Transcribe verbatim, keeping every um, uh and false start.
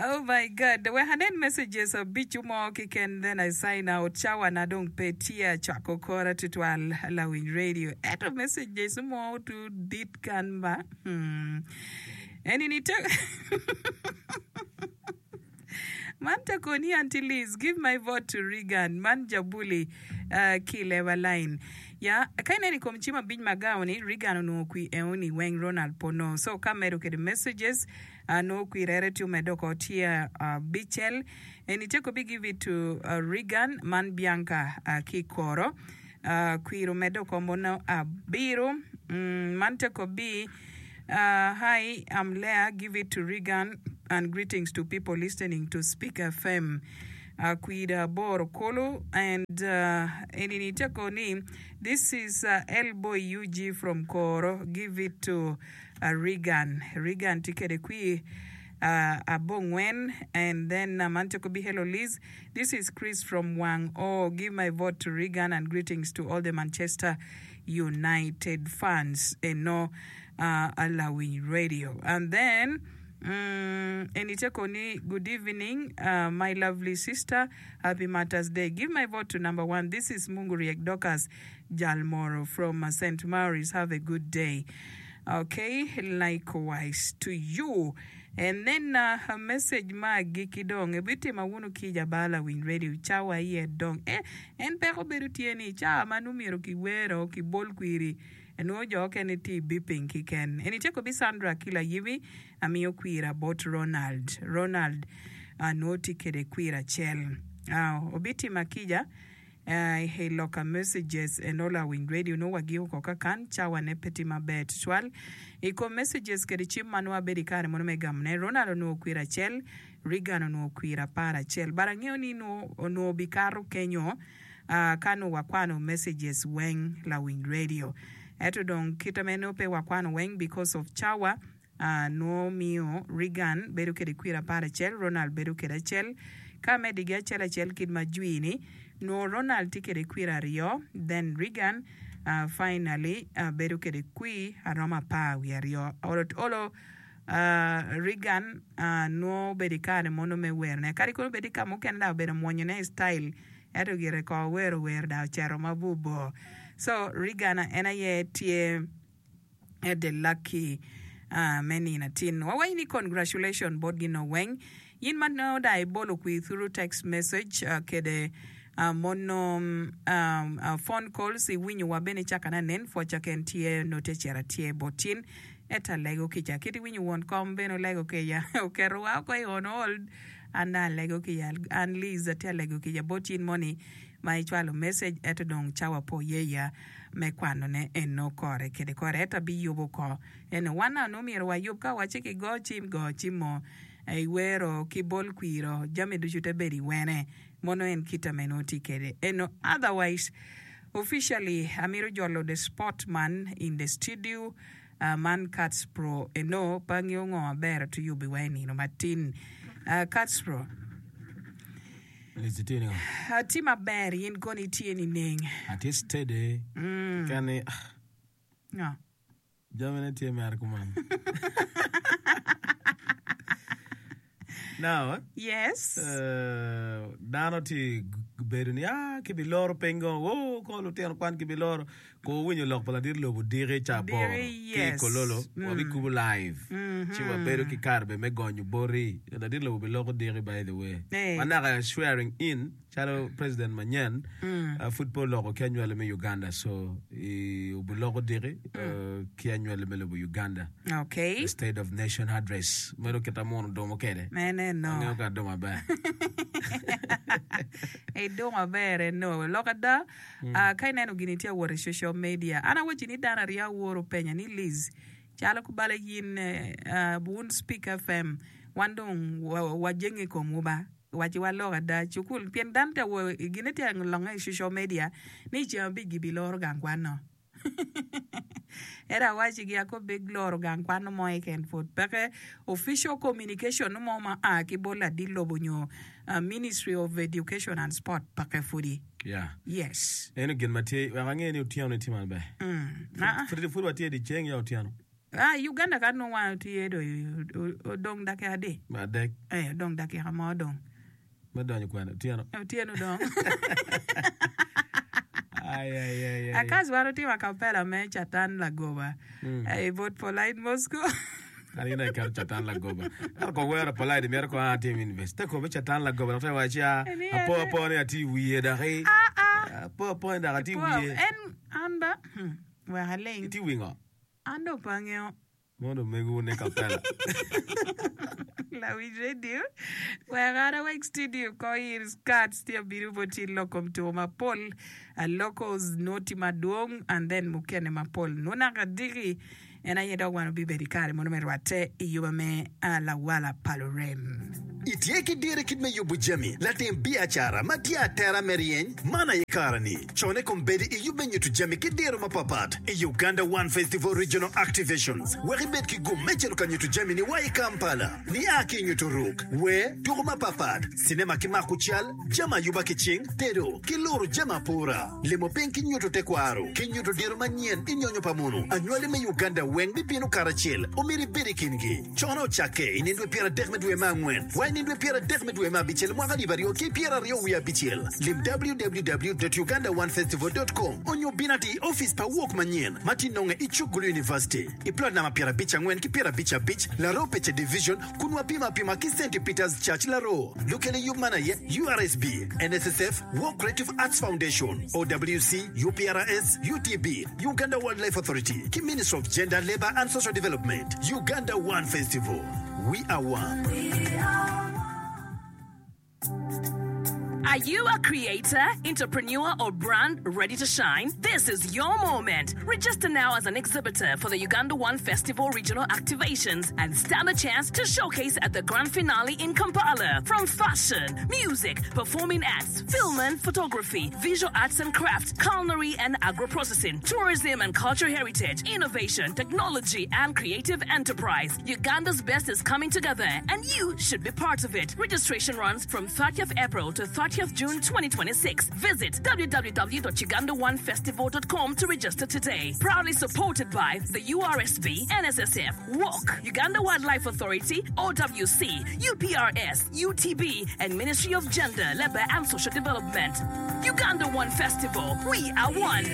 Oh my God. Wek anen messages abicu mo keken then I sign out. Cawa na dong pe tye acwako kora tutwal lawiny radio. Ento messages mo tu dit kan ba. Hmm. Eni ni te Man te koni Auntie Liz, give my vote to Reagan. Man jabuli uh, ki leba line. Ya, ka ineno i kom cim abic ma gao ni, Reagan onongo kwi eoni weng Ronald po no. So ka medo kede messages, uh, nongo kwi rere tye omedo oko tye abicel. Eni te kobi give it to uh, Reagan, man Bianca uh, ki koro. Uh, kwir omedo oko mono abiro. Mm, man te kobi Uh, hi, I'm Leah. Give it to Regan and greetings to people listening to Speak FM. Uh, Kwida Boro Kolo and uh, Enini Tekoni. This is uh, Elboy UG from Koro. Give it to uh, Regan. Regan tikede kwi uh, Abongwen and then uh, Mantekobi hello Liz. This is Chris from Wang. Oh, give my vote to Regan and greetings to all the Manchester United fans. Eno uh, Alawiny Radio. And then mm, Enitekoni, good evening, uh, my lovely sister. Happy Martyrs Day. Give my vote to number one. This is Munguriek Dokas Jalmoro from uh, St. Mary's. Have a good day. Okay, likewise to you. And then uh, a message ma agiki dong ebitima wunu kija ba Lawiny Radio cawa iye dong eh, en peko bedo tye ni cawa ma numyero kiwero kibol kwiri enwo jo okene tye beeping kiken eni tye kobi Sandra ki Layibi amiyo kwira bot Ronald Ronald uh, nwo tye kede kwira acel uh, obitima kija uh, i loka messages eno Lawiny Radio no wagiko ko kakan cawa ne pe tye maber tutwal i kom messages kede cim ma nwo abedo i kare mono me gamone Ronald onwogo kwira acel Regan onwogo kwira apar acel but angeo ni nwo onwogo bikato kenyo uh, ka nwo wakwano messages weng Lawiny Radio eto dong kita meno pe wakwano weng because of cawa uh, nwo miyo Regan bedo kede kwira apar acel Ronald bedo kede acel ka medigi acel acel kit ma jwi-ni nwo Ronald tye kede kwira aryo then Regan uh, finally uh, bedo kede kwi aromo apar wiye aryo olo olo uh, Regan uh, nwo obedo i kare mono me werone kadi kono obedo i ka mukene da obedo mwonyone i style ento gire ko wero wer da ocito mabubor so Regan en aye tye the lucky uh, me nino atin wawaco ni congratulation bot gin weng yin ma nongo da ibolo kwi through text message uh, kede uh, mono um, uh, phone calls iwinyo wa bene caka na nen pwoca ken tye note cera tye botin eta lego kica kit iwinyo won kom bene olego kica oketo wa oko i on hold an da alego kica an Liz atye alego kica bot yin moni ma icwalo message eto dong cawa po yeya me kwanone eno kore kede kore eto abiyubo ko eno wan anu myero wayub ka waci ki go cim go cim mo iwero ki bol kwiro jami ducu te bedo iwene mono en kita meno tye kede eno otherwise officially amiro jolo the sport man in the studio uh, man Cats Pro eno pa ngeo ngo maber tuyubi wa i nino matin uh, Cats Pro Lizzy tye ningo? atye maber in koni itye nining Atye steady. mm. Kani no. jamine tye mere kuman. Now, yes uh, dano tye bedo ni ah kibiloro piny go wo ko lutino kwan kibiloro ko winyo lok pa ladit lobo diki ca aboro Diki, ki yes. kololo Mm. wabikubo live ci wabedo ki Mhm. kare be me gonyo boti ladit lobo biloko diki by the way Eh. manaka swearing in calo president manyen Mm. uh, pud pe oloko ki anywali me Uganda so i obiloko diki uh, ki anywali me lobo Uganda Okay. the state of nation address meno kita muno domo kede Mene no. angeo ka domo maber Idong maber eno. Lok ada, uh, ka ineno gini tye awot i social media. An awaci ni dano aryo aworo penya ni Liz, calo kubala yin uh, wun Speak FM, wan dong wa- wajenge i komwu ba. Waci wa lok ada cukul pien dano tye awo gine tye longe i social media ni ceng abic gibiloro gang kwan no. Era awaci gi ako big loro gang kwan mo keken pud peke official communication mo ma a ki bot ladit lobo nyo uh, Ministry of Education and Sport peke pudi. yeah Yes. eno gin ma tye wek ange ni otyeno ni tye maber Mm. Ah, pud pud watye di ceng ya otyeno Ah, Uganda ka nongo wan tye do odong dakika adi? Adek. Eh, odong dakika mo odong. Me donyo kwene otyeno. Otyeno dong. Ay, ay, ay, ay. Akas wan otimo acapella me Catan Lagoba. Mm. Eh, bot Polite Moscow. An ina iketo Catan Lagoba. Ento ko wero Polite myero ko an atim university. Te ko be Catan Lagoba dok te waci a Ni apo ene. apo ni ati wiye doki. Ah, ah. Apo apo ni dok ati Po, wiye. en an ba. Hmm. Wek aling. Iti wi ngo? An dong pe angeyo. Mondo omego ne kapela. Lawinj radio. Wek an awek studio ko ir Scats tye abino bot in lok kom tuko mapol. Locals noti madwong and then mukene mapol. Nunaka diki en aye dok wan obibedo i kare mono me rwatte i yuba me lawala pa lurem. Itye ki dire kit me yubo jami latim biacara ma tye atera me ryeny man aye kare-ni cone kombeddi i yub me nyuto jami ki diro mapapat i Uganda One Festival Regional Activations wek ibed ki gum me cito ka nyuto jami ni wa i Kampala nia ki i nyuto ruk wer tuko mapapat sinema ki mako cal jami ayuba ki cing tedo ki loro jami apura limo piny ki nyuto tekwaro ki nyuto diro manyen i nyonyo pa munu anywali me Uganda weng bibino karacel omyero ibed i kingi cone ocakke i nino dwe pyeradek me dwe me angwen wa i nino dwe pyeradek me dwe me abicel mwaka alip aryo ki pyeraryo wiye abicel lim www.ugandaonefestival.com onyo bin ati i office pa wok manyen ma tye nonge i Chukgulu University i plot namba pyerabic angwen ki pyerabic abic Laro Pece Division kun wapimo apima ki St. Peter's Church Laro lukele yub man aye URSB NSSF Walk Creative Arts Foundation OWC UPRS UTB Uganda Wildlife Authority ki Ministry of Gender Labor and Social Development Uganda One Festival We are one. Are you a creator, entrepreneur, or brand ready to shine? This is your moment. Register now as an exhibitor for the Uganda One Festival regional activations and stand a chance to showcase at the grand finale in Kampala. From fashion, music, performing arts, film and photography, visual arts and crafts, culinary and agro-processing, tourism and cultural heritage, innovation, technology, and creative enterprise. Uganda's best is coming together, and you should be part of it. Registration runs from thirtieth April to thirtieth June twenty twenty-six. Visit w w w dot uganda one festival dot com to register today. Proudly supported by the U R S B, N S S F, W O C, Uganda Wildlife Authority, O W C, U P R S, U T B, and Ministry of Gender, Labor and Social Development. Uganda One Festival. We are one.